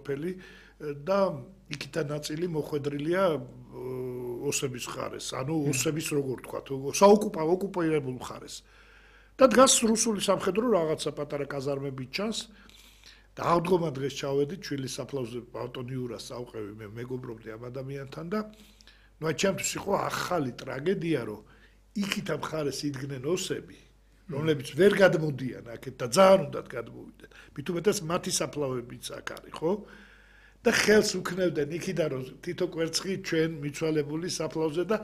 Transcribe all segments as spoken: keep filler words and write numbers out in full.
სოფელი და იქიდან ნაწილი მოხვედრილია ოსების მხარეს, ანუ ოსების როგორ თქვა, საოკუპა ოკუპირებულ მხარეს. და დგას რუსული სამხედრო რაღაცა პატარა კაზარმებით ჩანს. და აღდგომა დღეს ჩავედით ჩვილი საფლავზე ბატონ იურას წავყევი მე მეგობრობდი ამ ადამიანთან და ნუ აი ჩემთვის იყო ახალი ტრაგედია რომ იქით ამ მხარეს იდგნენ ოსები რომლებიც ვერ გადმოდიან აქეთ და ძალიან უნდათ გადმოვიდნენ მით უმეტეს მათი საფლავებიც აქ არის ხო და ხელს უქნევდნენ იქიდან რომ თითო კვერცხი ჩვენ მიცვალებული საფლავზე და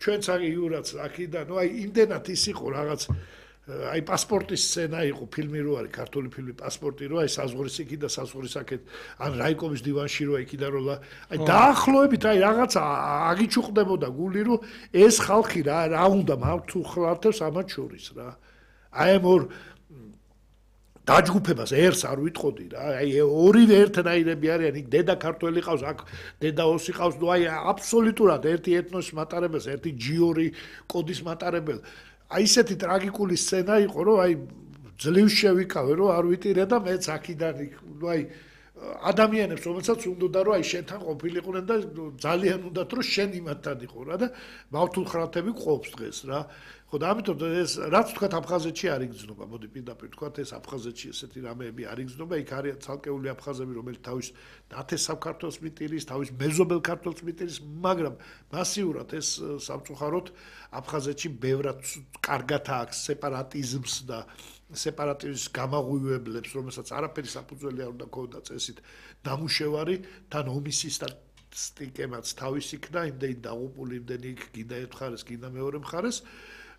ჩვენც აი იურაც აქიდან ნუ აი იმდენად ის იყო რაღაც აი პასპორტის სცენა იყო ფილმი რო არის ქართული ფილმი პასპორტი რო აი საზღვრის იქი და საზღვრის აქეთ ან რაიკოვის დივანში რო იქიდან რო აი დაახლოებით აი რაღაც აგიჩუყდებოდა გული რომ ეს ხალხი რა რა უნდა მართუხლათებს ამათ შორის რა აი ამ ორ დაჯგუფებას ერს არ ვიტყოდი რა აი ორივე ერთნაირები არიან იქ დედა ქართველი ყავს აქ დედა ოსი ყავს ნუ აი აბსოლუტურად ერთი ეთნოსის მატარებელს ერთი ჯიორი კოდის მატარებელს აი ესეთი ტრაგიკული სცენა იყო რომ აი ძლივს შევიკავე რომ არ ვიტირე და მეც აქიდან ნუ აი ადამიანებს რომელსაც უნდოდა რომ აი შენთან ყოფილიყვნენ და ძალიან უნდათ რომ შენ იმათთან იყო რა და მავთულხრათები ყოფს დღეს რა ხო და ამიტომ ეს რაც თქვა აფხაზეთში არ იგრძნობა მოდი პირდაპირ თქვა ეს აფხაზეთში ესეთი რამეები არ იგრძნობა იქ არის ცალკეული აფხაზები რომელიც თავის ნათესავ ქართველს მიტირის თავის მეზობელ ქართველს მიტირის მაგრამ მასიურად ეს სამწუხაროდ აფხაზეთში ბევრად კარგად აქვს სეპარატიზმს და სეპარატიზმის გამაღვივებლებს რომელსაც არაფერი საფუძველი არ უნდა ქონდა წესით დამუშევარი თან ომისის და სტიკემაც თავის იქნა იმდენი დაღუპული იმდენი იქ გინდა ერთ მხარეს გინდა მეორე მხარეს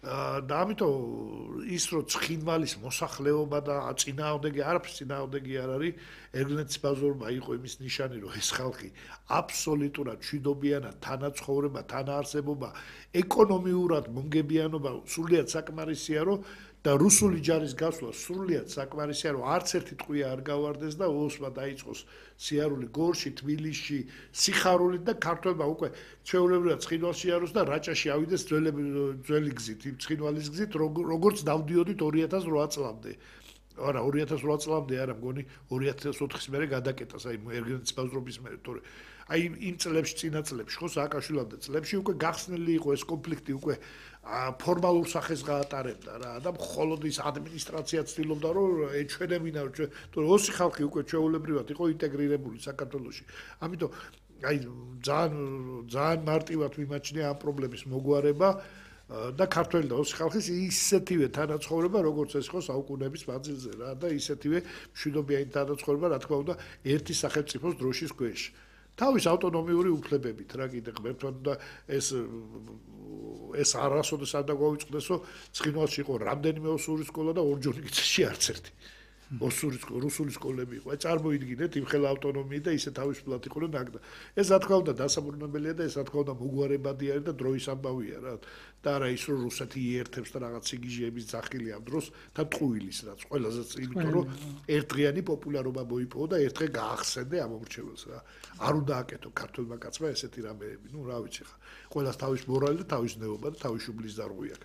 და ამიტომ ის რომ ცხინვალის მოსახლეობა და წინააღმდეგი არაფრის წინააღმდეგი არ არის ერგლენცის ბაზორმა იყო იმის ნიშანი რომ ეს ხალხი აბსოლუტურად მშვიდობიანად თანაცხოვრება თანაარსებობა ეკონომიურად მონგებიანობა სრულიად საკმარისია რომ და რუსული ჯარის გასვლა სრულიად საკმარისია რომ არც ერთი ტყვია არ გავარდეს და ოსმა დაიწყოს სიარული გორში თბილისში სიხარულით და ქართველმა უკვე ჩვეულებრივად ცხინვალში აროს და რაჭაში ავიდეს ძველი ძველი გზით იმ ცხინვალის გზით როგორც დავდიოდით ორი ათას რვა წლამდე არა ორი ათას რვა წლამდე არა მგონი ორი ათას ოთხის მერე გადაკეტას აი ერგენცის ბაზრობის მერე თორე აი იმ წლებში წინა წლებში ხო სააკაშვილამდე წლებში უკვე გახსნილი იყო ეს კონფლიქტი უკვე ფორმალურ სახეს გაატარებდა რა და მხოლოდ ის ადმინისტრაცია ცდილობდა რომ ეჩვენებინა რომ თორე ოსი ხალხი უკვე ჩვეულებრივად იყო ინტეგრირებული საქართველოში ამიტომ აი ძალიან ძალიან მარტივად ვიმაჩნია ამ პრობლემის მოგვარება და ქართველი და ოსი ხალხის ისეთივე თანაცხოვრება როგორც ეს იყო საუკუნეების მანძილზე რა და ისეთივე მშვიდობიანი თანაცხოვრება რა თქმა უნდა ერთი სახელმწიფოს დროშის ქვეშ თავის ავტონომიური უფლებებით რა კიდე ღმერთთან და ეს ეს არასოდეს არ დაგვაუწყდეს რომ ცხინვალში იყო რამდენიმე ოსური სკოლა და ორჯონიკიცში არც ერთი ოსური რუსული სკოლები იყო აი წარმოიდგინეთ იმ ხელა ავტონომიით და ისე თავისუფლად იყო ნაგდა ეს რა თქმა უნდა დასაბრუნებელია და ეს რა თქმა უნდა მოგვარებადი არის და დროის ამბავია რა და არა ის რომ რუსეთი იერთებს და რაღაც სიგიჟეების ძახილი ამ დროს და ტყუილის რაც ყველაზე იმიტომ რომ ერთდღიანი პოპულარობა მოიპოვა და ერთ დღე გაახსენდე ამ მომრჩეველს რა არ უნდა აკეთო ქართველმა კაცმა ესეთი რამეები ნუ რა ვიცი ხა ყველას თავის მორალი და თავის ნეობა და თავის შუბლის დარღვია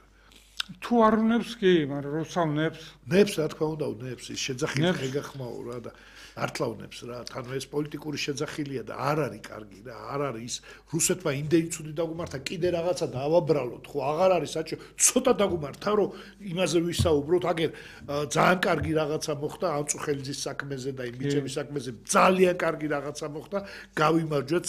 თუ არ უნებს კი მაგრამ როცა უნებს ნებს რა თქმა უნდა უნებს ის შეძახილი ეგახმაო რა და ართლა უნებს რა თან ეს პოლიტიკური შეძახილია და არ არის კარგი რა არ არის ის რუსეთმა იმდენი ცუდი დაგუმართა კიდე რაღაცა დავაბრალოთ ხო აღარ არის საჭირო ცოტა დაგუმართა რომ იმაზე ვისაუბროთ აგერ ძალიან კარგი რაღაცა მოხდა ამწუხელიძის საქმეზე და იმ მიწების საქმეზე ძალიან კარგი რაღაცა მოხდა გავიმარჯვეთ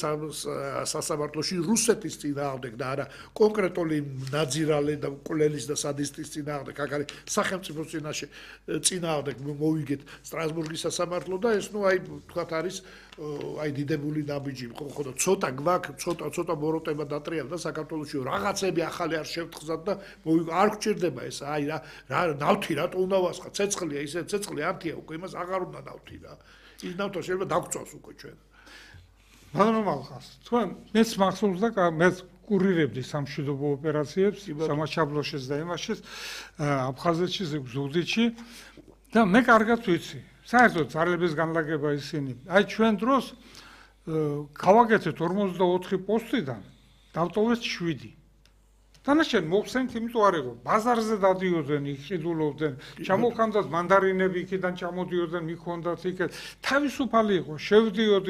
სასამართლოში რუსეთის წინააღმდეგ და არა კონკრეტული ნაძირალე და კვლელის და სადისტის წინააღმდეგ აქ არის სახელმწიფოს წინაშე წინააღმდეგ მოვიგეთ სტრასბურგის სასამართლო და ეს ნუ აი თქვათ არის აი დიდებული ნაბიჯი ხო ხო და ცოტა გვაქვს ცოტა ცოტა მოროტება დატრიალდა საქართველოში რაღაცები ახალი არ შევთხზათ და არ გჭირდება ეს აი რა რა ნავთი რატო უნდა ვასხა ცეცხლია ისე ცეცხლი ანთია უკვე იმას აღარ უნდა ნავთი რა ის ნავთო შეიძლება დაგწვას უკვე ჩვენ ბატონო მალხას თქვენ მეც მახსოვს და მეც კურირებდი სამშვიდობო ოპერაციებს სამაჩაბლოშიც და იმაშიც აფხაზეთში ზუგდიდში და მე კარგად ვიცი საერთოდ ძალების განლაგება ისინი აი ჩვენ დროს გავაკეთეთ ორმოცდაოთხი პოსტიდან დავტოვეს შვიდი დანარჩენ მოხსენთ იმიტომ არ იყო ბაზარზე დადიოდნენ იყიდულობდნენ ჩამოხანდათ მანდარინები იქიდან ჩამოდიოდნენ მიქონდათ იქეთ თავისუფალი იყო შევდიოდი